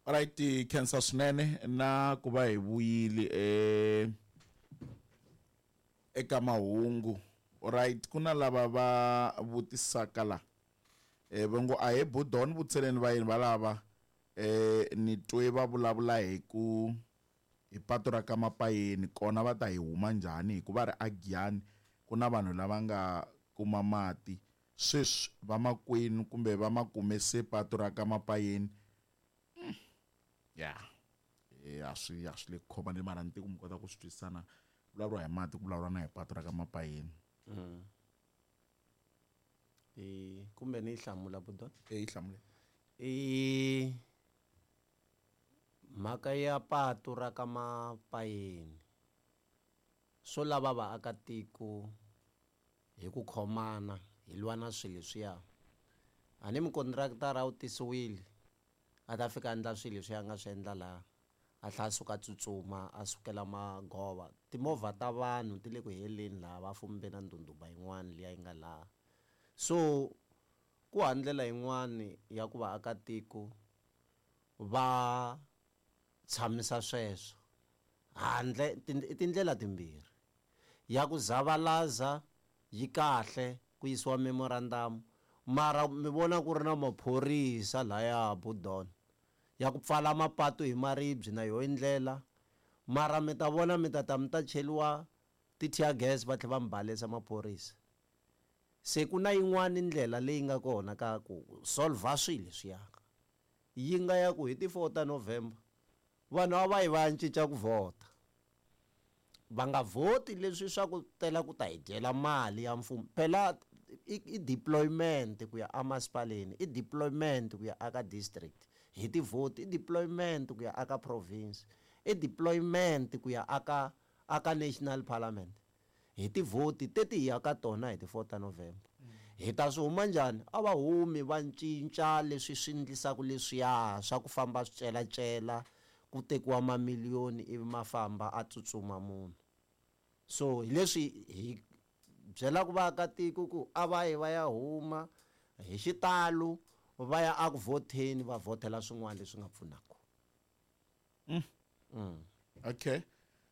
Alright, khensa swinene na ku va hi vuyile eka mahungu. Alright, ku na lava va vutisaka la. Va ngo a he Budon vutiseleni va yini va lava ni twe va vulavula hi ku hi patu ra ka Mapayeni kona va ta hi huma njhani hikuva ri a Giyani ku na vanhu lava nga kuma mati sweswi vamakwenu kumbe va ma kume se patu ra ka Mapayeni. Ya a swi a swi le ku khomani mara ni tiku mi kota ku swi twisisana vulavuriwa hi mati ku vulavuriwa na hi patu ra ka Mapayeni. I kumbe ni yi hlamula Budon? E yi hlamule. I mhaka ya patu ra ka Mapayeni swo lava vaakatiko hi ku khomana hi lwa na swilo leswiya. A ni mukontraktara u tisiwile a ta fika a endla swilo leswi a nga swi endla laha a tlhela a suka a tsutsuma a sukela magova. Timovha ta vanhu ti le ku heleni laha va fumbe na ndhundhuma yin'wana liya yi nga laha. So ku hava ndlela yin'wani ya ku vaakatiko va tshamisa sweswo handle i tindlela timbirhi. Ya ku zavalaza yi kahle ku yisiwa memorandum mara mi vona ku ri na maphorisa laya Budon ya ku pfala mapatu hi maribye na yoho ndlela mara mi ta vona mi ta ta mi ta cheliwa ti-tear gas va tlhela va mi balesa maphorisa. Se ku na yin'wani ndlela leyi nga kona ka ku solver swilo leswiya yi nga ya ku hi ti 4 ta November vanhu a va yi va ya cinca ku vhota. Va nga vhoti leswi swa ku tela ku ta hi dyela mali ya mfumo. Phela i deployment ku ya emasipaleni, i deployment ku ya aka district hi tivhoti, i deployment ku ya aka province, i deployment ku ya aka aka national parliament hi tivhoti teti hi ya ka tona hi ti 4 ta November. Hi ta swi huma njhani? A va humi va cinca leswi swi endlisaka leswiya swa ku famba swi celacela ku tekiwa mamiliyoni ivi ma famba a tsutsuma munhu. So hi leswi hi byelaka vaakatiko ku a va yi va ya huma hi xitalo va ya eku vhoteni va vhotela swin'wana leswi nga pfunaka. Okay.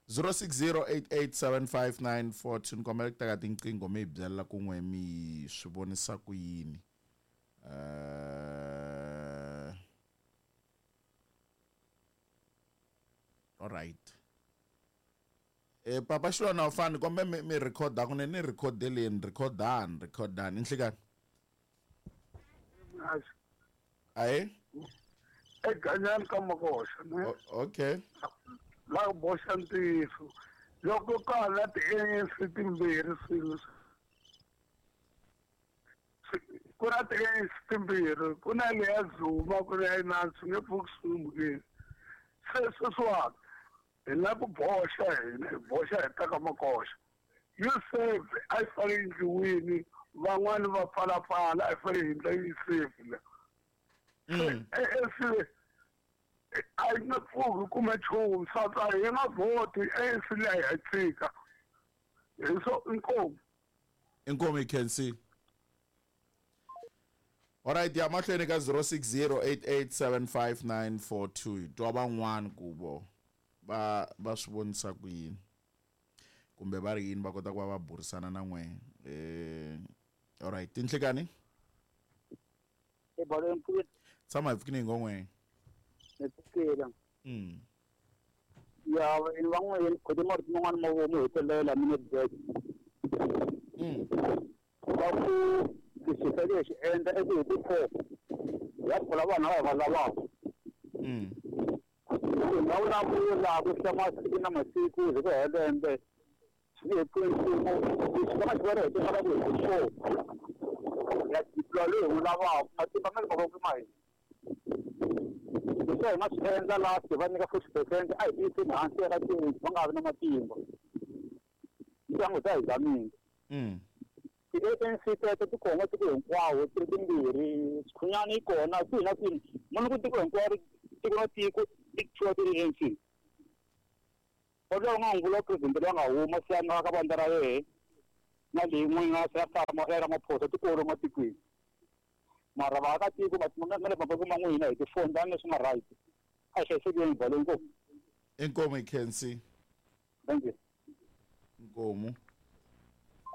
0608875942 ni kombela ku teka tinqingho mi hi byela ku n'we mi swi vonisa ku yini. All right. Papa Xilwana u fani kombe mi recorda kunene ni recordeni recordani recordani inhlikani. Aye. Eganyani ka Makoxa ne. Okay. La boxa ntiyiso. Loko ka ha na ti-ANC timbirhi swilo ku na ti-ANC timbirhi ku na leya Zuma ku na ya Inani swi nge pfuki swi humukile. Se sweswiwani hi la ku boxa hina hi boxa hi ta ka Makoxa. USAFE a yi fanele yi endliwini van'wani va pfalapfala a yi fanele hi endla USAFE le. ANC a yi nge pfuki kume nchumu swa hi nga vhoti ANC leyi hi tshika. Hi swo inkomu. Inkomu you can see. Alright, ya mahlweni ka 0608875942 hi twa van'wani ku vo va va swi vonisa ku yini kumbe va ri yini va kota ku va va burisana na n'we. Alright, tinhlikani? E balo mpfukile. Tshama hi pfukile ngongwe. Ni pfukile. Ya, ni van'we khodi marito man'wana ma vomu hetelela mi ne back. Va ku lexi hi fanele hi xi endla i ku hi ti 4 ya pfula vanhu lava hi va lavaka. Hi nga vulavula ku hlaya masiku na masiku hi ku hela lembe swi nge he pfuni nchumu. Lexi va nga xi vona hi tivaka ku hi ti 4 ya deploy loyi hi n'wi lavaka matimba ma le mavokweni ma hina. Leswi hi nga swi endla last va nyika 40% a hi tiyiseni hansi ya ka change va nga vi na matimba. Ndyangu ta hi zamile. Ti-ANC teto ti kona tiko hinkwawo ti ri timbirhi Sikhunyani yi kona kwihi na kwihi munhu ku tiko hinkwaro tiko na tiko ti thiwa ti-ANC. Kodwa u nga n'wi vula president loyi a nga huma se a nga ka vandla ra yehe na leyi n'wina se a famba ya Ramaphosa tikolo matikweni. Mara vaakatiko matimba ma le mavokweni ma n'wina hi tifoni ta leswi nga right. A hi hlayisekeni balo inkomu. Inkomu hi khensi. Thank you. Inkomu.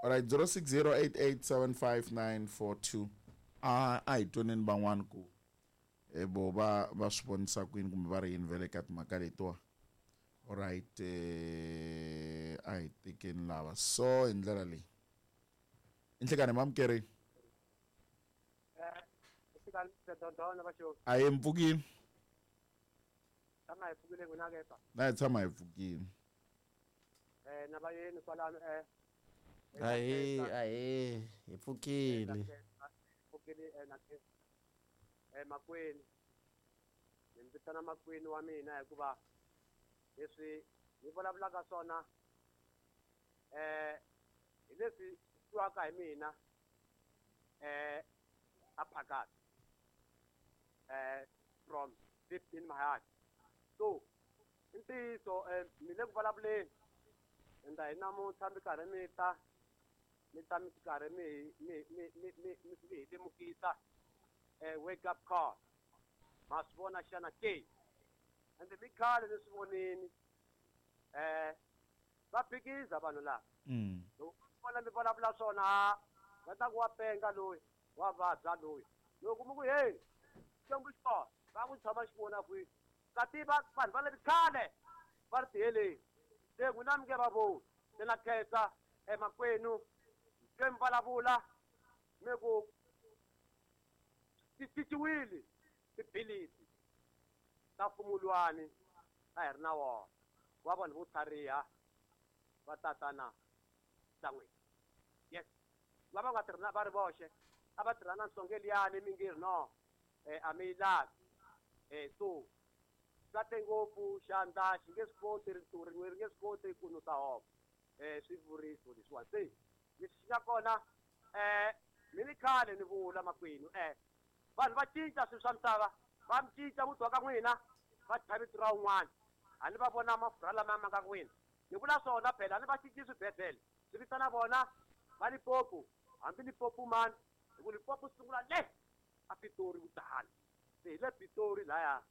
Alright, 0608875942. A hi twaneni van'wani ku vo va va swi vonisa kwini kumbe va ri yini vele ka timhaka letiwa. Alright, a hi tekeni lava so hi ndlela leyi. Inhlekani mamukeri. A hi mpfukini. Tshama hi pfukile n'wina ke pa. Na hi tshama hi pfukile. Na va yeni kwalano Ahe, hi pfukile. Pfukile na makwenu. Ni vitana makwenu wa mina hikuva leswi ni vulavulaka swona hi leswi twiwaka hi mina a phakathi from deep in my heart. So i ntiyiso mi le ku vulavuleni enda hi namuntlha mi karhi mi ta mi karhi mi hi lemukisa wake up call. Ma swi vona xana ke? Ende mi khale ni swi vonini va phikiza vanhu lava. Loko vona mi vulavula swona va ta ku wa penga loyi, wa vabya loyi. Loko mi ku hey, Xikwembu xi kona, va ku tshama xi vona kwihi? Ka tiva vanhu va le khale va ri tiheleni. Se n'wina mi nge va voni. Se na khensa emakwenu se mi vulavula mi ku ti cinciwile tiphilisi ta mfumulwani a hi ri na wona wa vanhu vo tlhariha va tatana Sangweni. Yes, lava nga tirha va ri voxe a va tirha na nhlonge liyani mi nge ri no a mi yi lavi. So kahle ngopfu xandla xi nge swi koti rintiho rin'we ri nge swi koti ku nusa hove swivuriso leswiwani. Se lexi xi nga kona mi ni khale ni vula makwenu vanhu va cinca swilo swa misava, va mi cinca muti wa ka n'wina va thya vito ra un'wana. A ni va vona mafurha lama ma nga n'wina ni vula swona phela, a ni va cinci swibedhlele swi vitana vona va Limpopo, hambi Limpopo mani hi ku Limpopo sungula le a Pitori kudala. Se hi le Pitori laya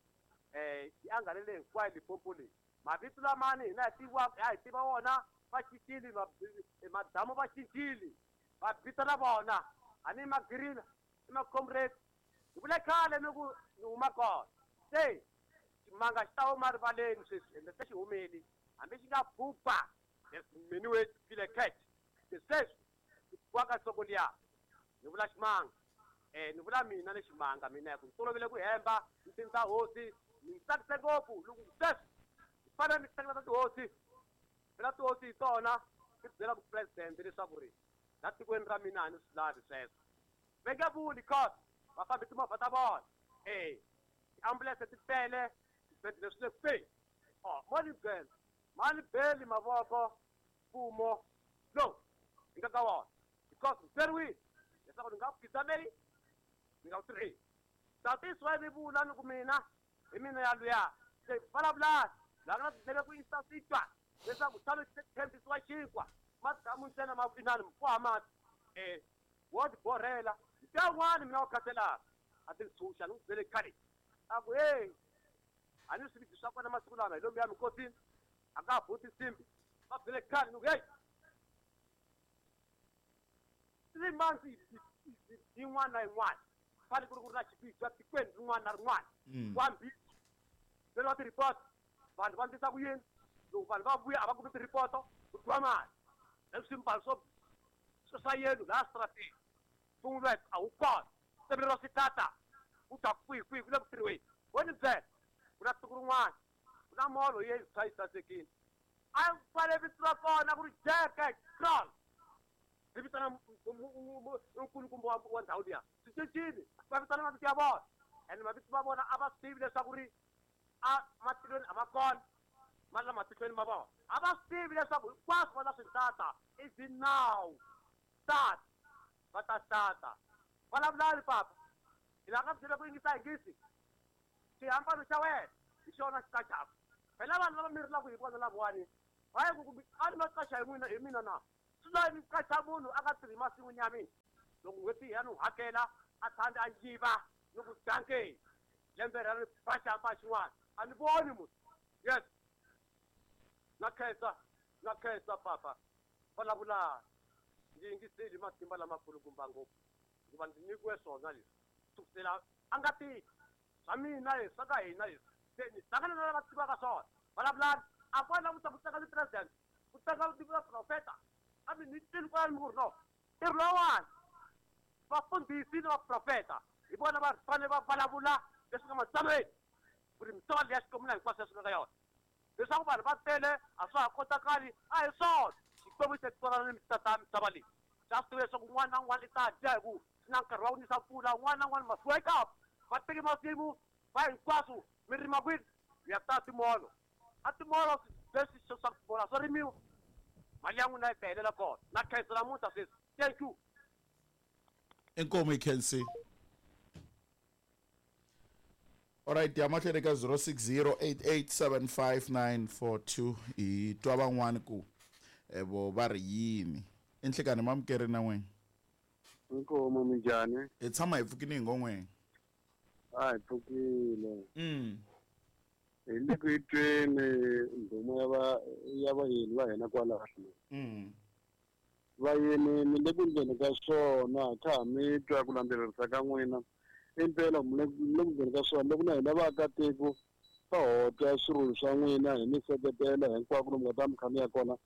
yi angarhele hinkwayo Limpopo leyi. Mavito lamani hina hi tiva hi tiva wona va cincile, madamu va cincile va vitana vona a ni magirina i macomrade. Hi vule khale ni ku ni huma kona. Se ximanga xi ta huma rivaleni sweswi ende se xi humile hambi xi nga phupha mini we file catch. Se sweswi xi ka nhloko liya ni vula ximanga ni vula mina ni ximanga mina hi ku ni tolovele ku hemba ni tindza hosi ni tsakise ngopfu loko sweswi ni fanele ni hleketa tihosi phela tihosi hi tona ti byela ku president leswaku ri la tikweni ra mina a ni swi lavi sweswo. Va nge vuli cause va fambi timovha ta vona tiambulense ti tele swibedhlele swi le kwihi. Mo ni byela ma ni beli mavoko mfumo lowu hi nga ka wona because ni byeriwile leswaku ni nga ku khidzameli ni nga ku tirheli. Tatisiwa mi vula ni ku mina hi mina ya luya se vulavulani laha nga tindleve ku yisa swi twa leswaku tshame tshembisiwa xinkwa madamu ntsena ma inani mfuwa mati wo ti borhela ntiya wun'wani mina wa khathalaka a ti ntshunxa ni n'wi byele khale a ku hey a ni swiviti swa kona masiku lama hi lomu ya minkosini a nga ha buti nsimbi va byele khale ni ku hey 3 months yin'wana na yin'wana fanele ku ri ku ri na xiviti tikweni rin'wana na rin'wana wa mbisi byeriwa ti-report vanhu va ndlisa ku yini loko vanhu va vuya a va kumi ti-report ku dyiwa mali leswi swimbalo swo swa yenu laha strateni mfumo a wu kona semeleriwa switata ku ta kwihi kwihi ku le ku tirhiweni. Wo ni byela ku na siku rin'wana ku na molo ye yi yi sasekile a fanele vito ra kona ku ri Jack Cross ri vitana nkulukumba wa ndhawu liya swi cincile va vitana mavito ya vona ende mavito ma vona a va swi tivi leswaku ri a matilweni a ma kona ma la matihlweni ma vona a va swi tivi leswaku hinkwaswo va ta swi tata is now tata va ta tata vulavulani papa hi la nga byela ku yingisa yingisi xihambano xa wena hi xona xi qachaku phela vanhu lava mi rilaka hi vona lavawani va yi ku a ni ma qacha hi n'wina hi mina na swi lavi ni qacha munhu a nga tirhi masin'wini ya mina loko n'hweti ya ni hakela a tshami a yiva ni ku danke lembe ra ri ba xihambano xin'wana. A ni voni munhu. Yes. Na khensa papa. Vulavulani. Ndzi yingiseli matimba lamakulukumba ngopfu. Hikuva ndzi nyikiwe swona leswi. Kusukela a nga tiki. Swa mina leswi, swa ka hina leswi. Se ni hlangana na lava tivaka swona. Vulavulani. A kwala ku ta ku teka ti-president, ku teka ti-profeta. Kambe ni twile kwalani mi ku ri no. Ntirho lowuwani vafundhisi ni vaprofeta hi vona va fanele va vulavula leswi nga matsalweni ku ri misava leyi ya Xikwembu na hinkwaswo leswi nga ka yona. Leswaku vanhu va tele a swa ha kotakali a hi swona. Xikwembu xi ta twanana ni tata misava leyi. Xa swi tiva leswaku un'wana na un'wana i ta dya hi ku swi na nkarhi wa ku nisa mpfula, un'wana na un'wana must wake up. Va teki masimu va hinkwaswo mi rima kwini? Mi ya ta timolo. A timolo leswi swa timolo swo rimiwa. Mali ya n'wina yi ta helela kona. Na khensa namuntlha sweswi. Thank you. Inkomu yi khensi. Alright, ya mahlweni ka 0608875942 hi twa van'wani ku vo va ri yini. I nhlikani mamukeri na n'wina. Inkomu minjhani? Hi tshama hi pfukile hi ngo n'wina. A hi pfukile. Hi le ku tweni ndhuma ya va ya vayeni va hina kwalano. Vayeni mi le ku ndleni ka swona kha ha mi twa ku landzelerisa ka n'wina. Impela mi le ku ndleni ka swona loko na hina vaakatiko va hotla swirulu swa n'wina hi mi seketela hinkwako lomu nga ta mi kha mi ya kona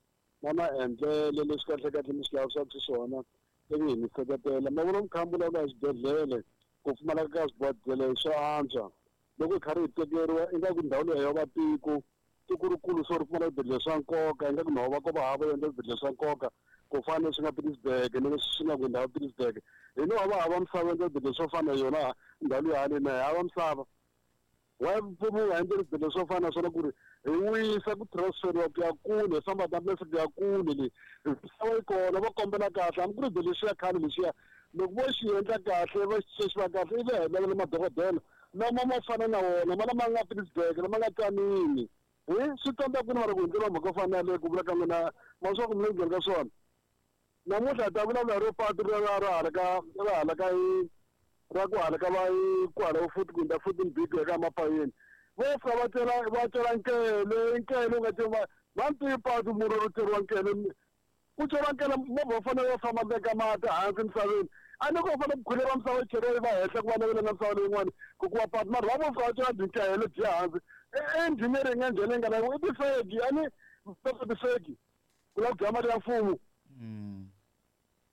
na maendlelo leswi kahlekahle mi swi lavisaka xiswona ivi hi mi seketela. Ma vona mi kha mi vulavula hi swibedhlele ku pfumaleka ka swibedhlele swa antswa loko hi karhi hi tekeriwa ingaku ndhawu leyi ya va tiko tiko rikulu so ri pfumala swibedhlele swa nkoka ingaku nhova ko va hava endla swibedhlele swa nkoka ku fana leswi nga Pietersburg na leswi swi nga ku ndhawu Pietersburg hi no va hava misava endla swibedhlele swo fana na yona ndhawu leyi haleni na hi hava misava. Why mfumo wu nga endli swibedhlele swo fana na swona ku ri hi wisa ku transferiwa ku ya kule hi famba ti-ambulance ku ya kule le misava yi kona va kombela kahle hambi ku ri xibedhlele lexiya khale lexiya loko vo xi endla kahle va xi xi va kahle ivi hi lavela madokodela lama ma fana na wona ma lama nga Pietersburg lama nga Tzaneen. Hi swi tsandza kwini mara ku hundzeriwa mhaka yo fana na yaleyo ku vula ka n'wina ma swa ku mi le ku byela ka swona. Namuntlha hi ta vulavula hi ro patu ra ra hala ka ra hala ka ra ku hala ka va ku hala futhi ku hundza futhi big ya ka mapayeni. Vo fika va cela va cela nkele nkele u nga celi va va ni patu murhi ro ceriwa nkele ku ceriwa nkele movha wu fanele wu famba veka mati hansi misaveni. A ni ko fanele ku khuleriwa misava yi cheriwa yi va henhla ku va na na misava leyin'wani ku kuma patu mara va vo fika va cela byinkele byi ya hansi. Engineering ya njhani leyi nga na i tifeki a ni tifeki ku lava ku dya mali ya mfumo.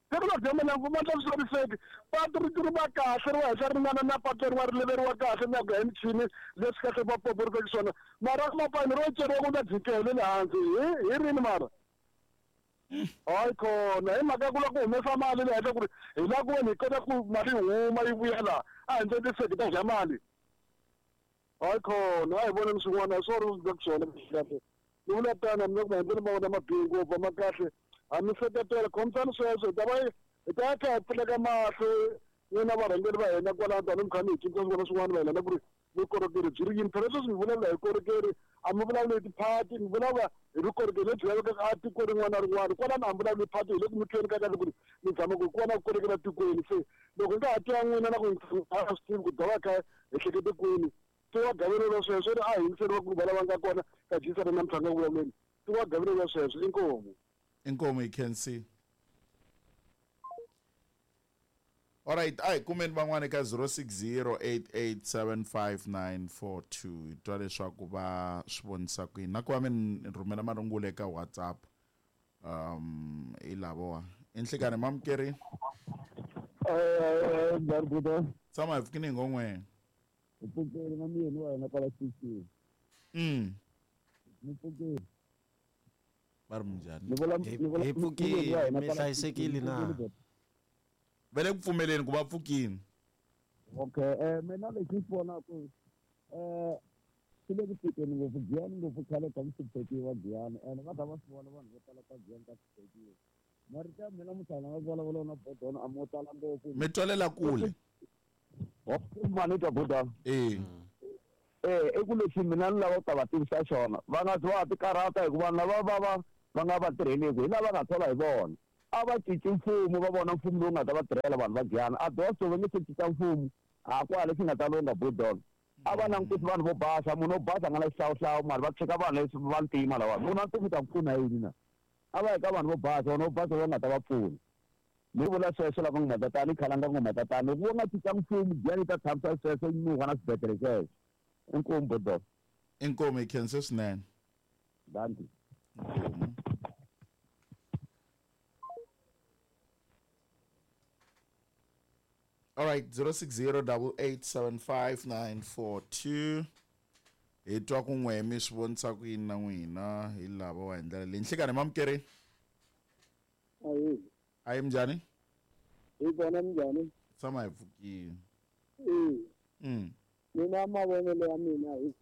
Se ku lava ku dya mali ya mfumo va tlakusiwa tifeki patu ri ri va kahle ri va henhla ri ringana na patu lerin'wana ri leveriwa kahle na ku ya hi michini leswi kahle va poporisaka swona mara mapayini ro ceriwa ku na byinkele le hansi hi rini mara. Hayi khona hi mhaka ya ku lava ku humesa mali le henhla ku ri hi lava ku veni hi kota ku mali yi huma yi vuya laha a hi ndle tifeki ta dya mali. Hayi khona a hi voneni swin'wana a swi ri ku swona kahle. Ni vula tano mina ku maendlelo ma vona ma bihe ngopfu a ma kahle ha mi seketela khomisani sweswo hi ta va hi ta ya kha hi pfuleka mahlo n'wina varhangeri va hina kwalano tani mi kha mi hi cinca swin'wana swin'wana mayelana ku ri vukorhokeri byi ri yini. Phela sweswi mi vulavula hi vukorhokeri a mi vulavuli hi tiphati mi vulavula hi vukorhokeri lebyi lavekaka a tiko rin'wana na rin'wana kwalano a mi vulavuli hi phati hi le ku mi tweni ka kahle ku ri mi zama ku ku va na vukorhokeri etikweni. Se loko hi nga ha twa n'wina na ku a swi tivi ku dova kha hi hlekete kwini tiwa gaveleriwa sweswo ri a hi yingiseriwa ku va lava nga kona ka jisana namuntlha nga ku vulavuleni tiwa gaveleriwa sweswo inkomu. Inkomu yi khensi. Alright, a hi kumeni van'wana eka 0608875942 hi twa leswaku va swi vonisa ku yini na ku va mi rhumela marungula eka WhatsApp hi lavowa i nhlikani mamukeri. Tshama hi pfukini hi ngo n'we. Hi pfukile na muyeni wa hina kwala xitichini. Mi pfukile. Va ri minjhani? Ni vula Hi pfukile, mi hlayisekile na? Va le ku pfumeleni ku va pfukile. Okay, mina lexi ni xi vonaka swi le ku tikeni ngopfu Giyani ngopfu khale ka mi hluphekiwa Giyani ene va ta va swi vona vanhu vo tala ka Giyani ka hluphekiwa. Marito ya mina muntlhanu nga vulavula na Bodona a mo tala ngopfu. Mi twalela kule. Mani twa Bodona. I ku lexi mina ni lava ku ta va tivisa xona va nga zi va ti karhata hikuva vanhu lava va va va nga va tirheleki hi lava nga thola hi vona. A va cinci mfumo va vona mfumo lowu nga ta va tirhela vanhu va Giyani. A dose va nge se cinca mfumo a kwala lexi nga ta lungha Bodona. A va langutisi vanhu vo basa, munhu wo basa a nga na xihlawuhlawu mara va tshika vanhu leswi va ntima lava. Munhu a ntima u ta ku pfuna yini na? A va yi ka vanhu vo basa, vanhu vo basa va nga ta va pfuna. Ni vula sweswo lava nga matatana, i khalanga ngo matatana. Loko vo nga cinca mfumo, Giyani yi ta tshamisa sweswo yi nuha na swibedhlele sweswo. Inkomu bodo. Inkomu hi khense swinene. Dankie. Inkomu. All right, 0608875942. Hi twa ku n'we mi swi vonisa ku yini na n'wina hi lava wa hi ndlela leyi. Nhlikani mamukeri. Ayi. Ayi minjhani? Hi kona minjhani? Tshama hi pfukile. Mina mavonelo ya mina hi